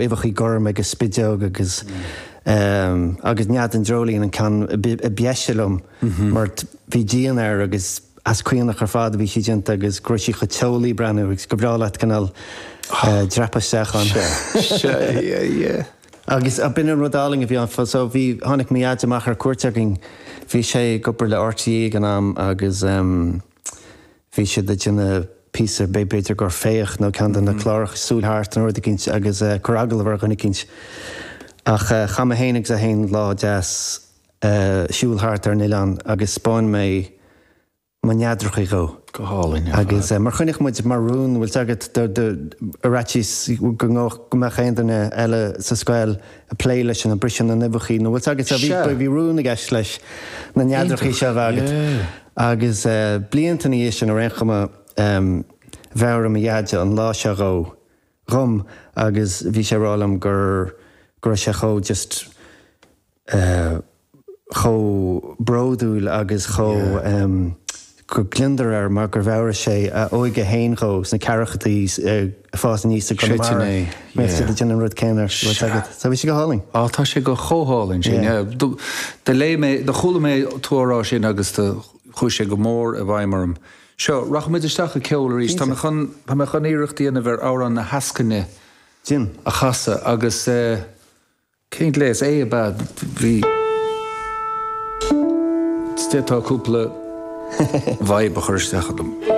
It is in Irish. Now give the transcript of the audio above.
Uibheachaí gorm agus spideog agus agus Nead an Dreoilín an ceann a b'dheise liom mar bhí díon air agus as caonach ar fad a bhí sí déanta agus go raibh sí chomh teolaí breathnú agus go breá leat cineál dreapadh isteach ann. Sea, sea, yeah, yeah. Agus b'in an rud álainn a bhí ann. So bhí, tháinig mo dhaid amach ar cuairt againn, bhí sé ag obair le RTÉ ag an am agus Bhí siad ag déanamh píosa, b'fhéidir gur Féach nó ceann de na cláracha, Súil Thart nó rud eicínt agus cur agallamh ar dhuine eicínt. Ach chaith mé féin agus é féin lá deas siúl thart ar an oileán agus 'spáin mé mo neadrachaí dhó. Go hálainn ar fad. Agus mar choinnigh muid mar rún, bhfuil 's agat, ar fhaitíos go go mbeadh aon duine eile sa scoil ag plé leis an briseadh na n-uibheachaí nó bhfuil 's agat, bhí rún i gceist leis na neadrachaí seo a bheith agat. Agus blianta ina dhiaidh sin, ar aon chuma, mheabhraigh mo Dheaide an lá seo dhó, dhom agus bhí sé ag rá liom gur, go raibh sé chomh just eh chomh bródúil agus chomh go gliondar air mar gur mheabhraigh sé a óige fhéin dhó sna ceathrachaidí ag fás aníos i gConamara. Mbeadh siad ag déanamh an rud céanna, bhfuil 's agat. So bhí sé go hálainn. Á, tá sé go chomh hálainn sin, yeah. Do léigh mé, do chuala mé tú á rá sin agus do chuaigh sé go mór i bhfeidhm orm. Seo, rachaimid isteach i gceol arís. Tá mé chun, tá mé chun iarracht a dhéanamh ar amhrán na heascaine a chasadh agus eh, Cén gléas é ab ea? Bhí. D'fhéadfá cúpla vibe a chur isteach ionam.